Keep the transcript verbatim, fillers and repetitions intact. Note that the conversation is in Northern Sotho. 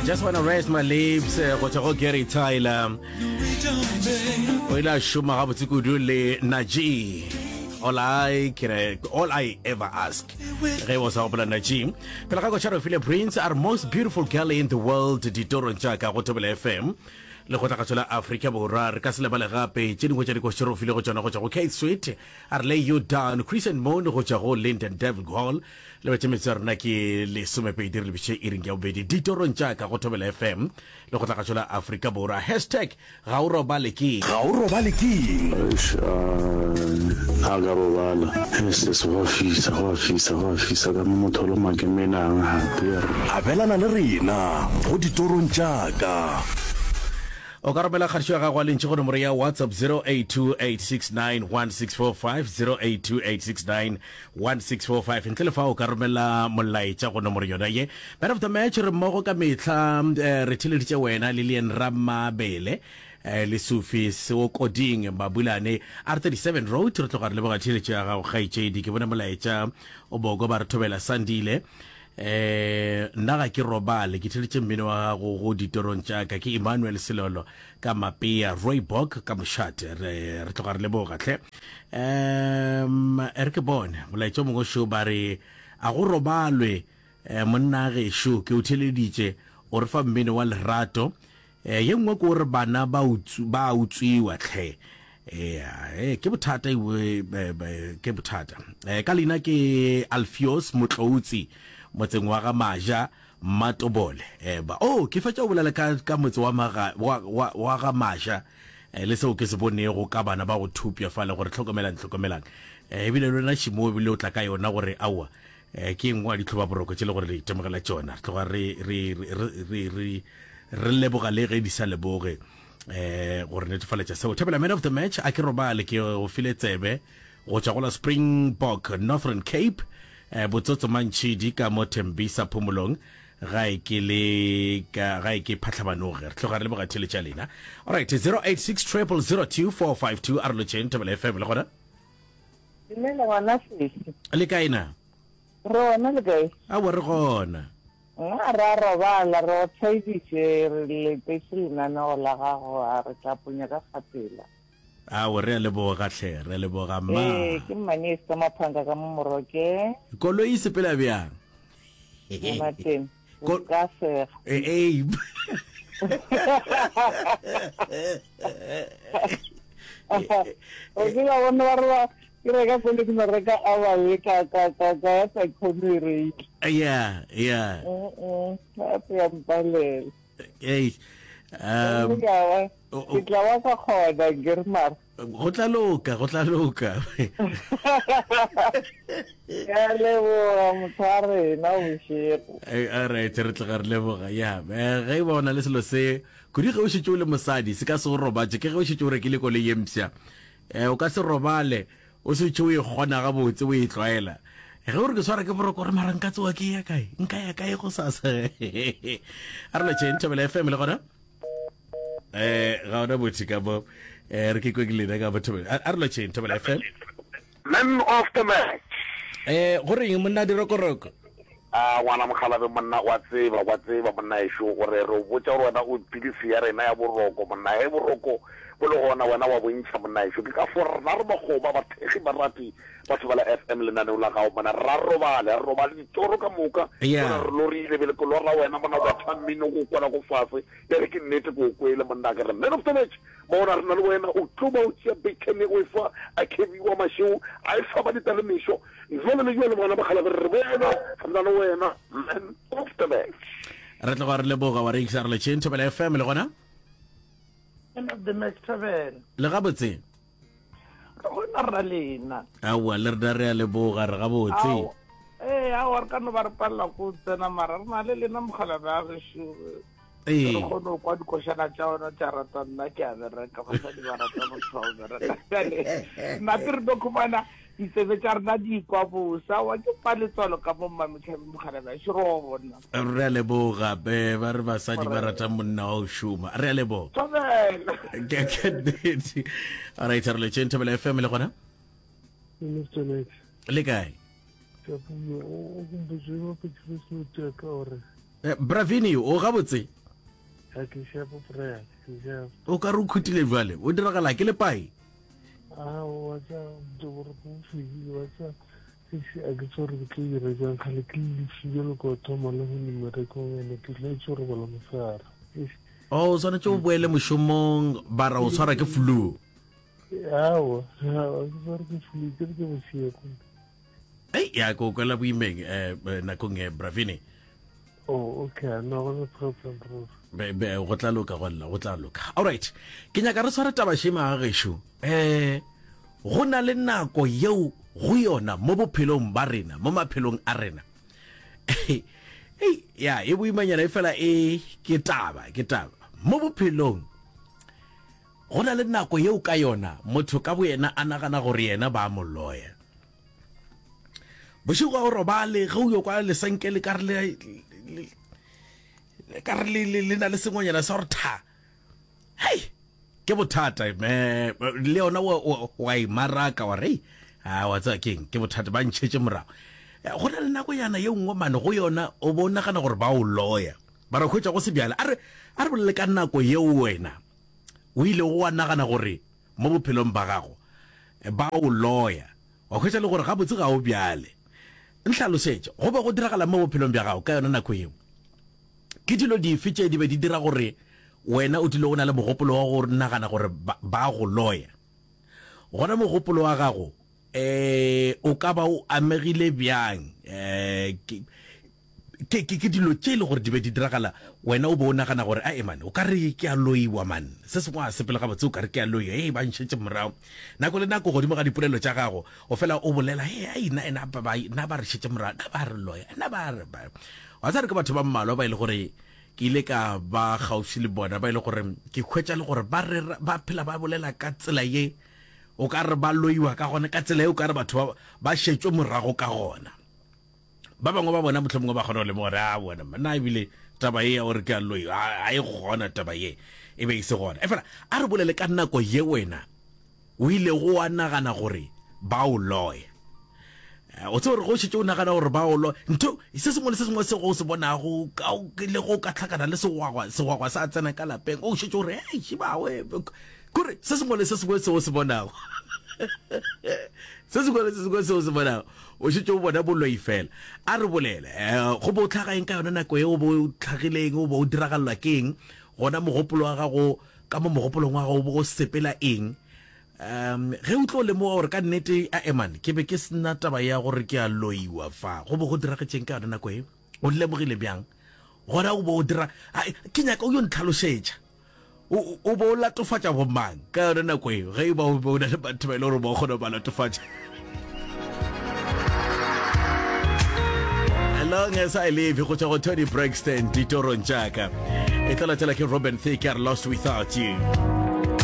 Just Wanna Rest My Lips eh, go tšwa go Gary Tyler. O ile a šoma gabotse kudu le Najee. All I can, all I ever ask. Ge o sa gopola Najee. Pele ga košaro file Prince are most beautiful girl in the world ditorong tša ka go Thobela F M le go tla la Afrika Borwa. Re ka se lebale gape tše dingwe tša dikošaro file go tšona go tšwa go Kate Sweet a re Lay You Down, Christian Moon go tšwa go Linden Devil Hall. Le betše metse ya rena ke lesomepedi re lebiše iring ya bobedi ditorong tša ka go Thobela F M le go tla la Afrika Borwa. Hashtag ga o robale ke Ga o robale keng? Eish, a ka robala se go a fisa, go a fisa, go a fisa ka mo motho lo makemenang gape. Abelana le rena go ditorong tša ka. O ka romela kgatišo ya gago a lentši go nomoro ya WhatsApp zero eight two eight six nine one six four five, zero eight two eight six nine one six four five. Ntle le fa o ka romela molaetša go nomoro yona ye. Man of the match, re mmogo ka mehla, eh, re theleditše wena Lilian Ramabele, eh, le Sufi Seokoding Mabulane R thirty-seven Road. Re tloga re leboga theletšo ya gago, kgaetšedi. Ke bone molaetša o boko ba re thobela Sandile, eh nna ga ke robale, ke theletše mmino wa gago go ditorong tša ka. Ke Emmanuel Selolo ka Mapea Roybok ka mošate. re re tloga re leboga tlhe. um re ke bone molaetša o mongwe šo, ba re a go robalwe, eh, monna gešo ke o theleditše o re fa mmino wa lerato. eh, ye nngwe ke gore bana ba utsw- ba utswiwa tlhe. eh ke bothata iwe, ke bothata. eh ka leina ke Alfios Motloutsi motseng wa ga Maja Matobole. eh ba oh, ke fetša o bolela ka ka motse wa maga wa, wa, wa ga Maja, eh, le seo ke se bonego ka bana ba go thupja fale, gore hlokomelang, hlokomelang. eh ebile le wena šimo ebile o tla ka yona gore aowa, eh ke engwe ya ditlhoba boroko tše le gore re itemogela tšona. Re tloga re re re re re re leboga le ge di sa leboge eh gore netefaletša seo. Thobela, man of the match, a ke robale, ke go file tsebe go tšwa go la Springbok, Northern Cape, eh botsotso mantšhidi ka mo Tembisa Phomolong gae ke le ka gae ke Phatlhabanoge. Re tloga re leboga theletša lena. Alright, zero eight six zero zero zero two four five two. A re lotšheng, Thobela F M le gona. Dumela ngwana sesi. Le kae na? Re gona, le kae? Aowa, re gona. Nna ra robala, re o tshwaeditše, re letetše lenaneo la gago, a re tla ponya ka fapela. Ao, re a leboga tlhe, re a leboga ma. Ee, ke mmane ka maphanka ka mo Moroke. Koloi e sepela bjang? Ngwanateng, o Ko- ka sega. Eh, eh. O tseba bone ba re ba ke reka koloi, ke no reka a baye ka ka ka ka ya sa kgone e reile. yeah yeah Mm, gape ya mpalela. Hey, um Gomme ka ba o- ke tla ba ka kgona ke re mara. Go tla loka, go tla loka. Ke a leboga motho wa rena bošego. Eh, alright, re tloga re leboga ya. eh, ge e ba o na le selo se kudu ge o šetše o le mosadi se ka se o robatše, ke ge o šetše o rekile koloi ye mpsha, um o ka se robale o setse o e kgona gabotse, o e tlwaela. Ge o re ke swara ke boroko, gore mara nka tsoa ke ya kae, nka ya kae go sasa? A re lotšheng, Thobela F M le gona. eh ga ona botho ka mo, eh re ke kwe ke lena ka mo Thobela. A re lotšheng, Thobela F M. Man of the match. eh go reng monna dirokoroko? A ngwana mogalabe monna, wa tseba, wa tseba monna ešo gore re o botša gore wena o pilisi ya rena ya boroko monna. Ge boroko bo le gona, wena wa bontšha monna ešo. Ke ka fo rena re makgoba, bathekgi, barati ba Thobela F M, lenaneo la gago monna. Ra robale, re robale ditoro ka moka. Yeah. Mona re lorile bele ke lora wena monna, wa tha mmino ko kwela ko fase ya re ke nnete ke o kwele monna. Ke re man of the match mona re na le wena, o tlo ba o tšea bacon o e fa a kebiwa mašego a e fa ba ditalemišo jale le jale. Ngwana mogalabe, re bona re na le wena, man of the match. Re tloga re leboga wa reisa. Re letšheng, Thobela F M le gona. Man of the match, Thobela. Le gabotse? Re gona ra lena. Aowa, le rena re a leboga, re gabotse. Ao, ee, aowa, re ka no ba re palela ko tsena, mara re na le lena mogalabe a gešo. Ee. Re kgone go kwa dikošana tša ona tša rata. Nna ke a bereka, basadi ba rata motho wa go bereka. Bjale nna ke re no khumana ditsebe tša rena di ikwa bosa wa ke paletswalo ka mo mmametlhabe mogalabe a šoro wa bona. Re a leboga be ba re basadi ba rata monna wa go šoma. Re a leboga. Thobela. Ke ke nnete. Alright, re letšeng, Thobela F M le gona. Mister Max. Le kae? O gompotse ba Christmas ka gore Eh, Bravini, o gabotse? A ke shapo prayer, ke shapo. O ka re o khutile bjale, o diragala ke lepai? Ah, wa tsa gore go fedile, wa tsa a ke tsore ke tlo dira jang kgale ke lefile le ko thoma le go mmerekong ene ke tla itse gore bola mosegare. O swanetše o boele mošomong bara o tshwara ke flu. Aowa, aowa, ke tshware ke flu, ke re ke bošego. Ei, ya ko kwela boimeng eh, eh, nakong e Bravini. Oh, okay, no go no problem, bro. Be, be, go tla loka go lla, go tla loka. Alright, ke nyaka re tshware taba šema ga gešo. Eh, go na le nako yeo go yona mo bophelong ba rena, mo maphelong a rena. Ei, ya, e boimanyana e fela e ke taba, ke taba. Mo bophelong go na le nako yeo ka yona motho ka boyena a nagana gore yena ba mo loya. Bošego ga o robale, ge o yo kwa lesenke le ka re le, le ka re le, le, le na le sengwenyana sa gore tha. Hei, ke bothata, eh, le yona wa, wa, wa e maraka wa re, hei, a wa tseba keng, ke bothata, ba ntšhetše morago. Eh, go na le nakonyana ye nngwe mane go yona o bo o nagana gore ba o loya, ba re hwetša go se bjale. A re, a re bolele ka nako yeo wena o ilego wa nagana gore mo bophelong ba gago ba o loya, wa hwetša le gore gabotse ga o bjale. Nhlalosetše, go be go diragala mo bophelong bja gago ka yona nako yeo? Ke dilo dife tše di be di dira gore wena o dule o na le mogopolo wa go nagana gore ba, ba go loya? Gona mogopolo wa gago eh o ka ba o amegile bjang? Eh ke, ke, ke, ke dilo tše e le gore di be di diragala wena o be o nagana gore ae man o ka re ke a loiwa man, se sengwe a sepele gabotse o ka re ke a loiwa, ee ba nšetše morago. Nako le nako godimo ga dipolelo tša gago o fela o bolela, ee ai nna ena ba, ba, nna ba re šetše morago, nna ba re loya, nna ba re ba. Wa tseba re ke batho ba mmalwa ba e le gore ke ile ka ba kgaufsi le bona, ba e le gore ke hwetša le gore ba rera, ba phela ba bolela ka tsela ye o ka re ba loiwa ka gona, ka tsela ye o ka re batho ba, ba šetšwe morago ka gona. Ba bangwe ba bona mohlomongwe ba kgona go lemoga gore a bona nna ebile taba ye ya gore ke a loiwa a e gona, taba ye e be e se gona. Efela a re bolele ka nako ye wena o ilego wa nagana gore ba o loya. O tsebe gore go šetše o nagana gore ba o loya, ntho se sengwe le se sengwe se go se bonago le go ka hlakana le segwagwa, segwagwa sa tsena ka lapeng, o šetše o re hei šibawe, kore se sengwe le se sengwe se o se bonago se sengwe le se sengwe se o se bonago o šetše o bona boloi fela. A re bolele, eh, go bo o tlhaga eng ka yona nako e o bo o tlhagileng, o bo o diragalelwa ke eng gona, mogopolo wa gago ka mo mogopolong wa gago o bo o sepela eng? Um ge o tlo lemoga gore ka nnete a eman ke be ke sena taba ya gore ke a loiwa fa, go bo go diragetšeng ka yona nako e, o lemogile bjang gona o bo o dira? Ke nyaka o yo ntlhalošetša, o o bo o latofatša bomang ka yona nako eo, ge e ba o be o na le batho ba e le gore ba kgona ba latofatša. Long as I Live go tšwa go Toni Braxton ditorong tša ka. E tla latela ke Robin Thicke a re Lost Without You.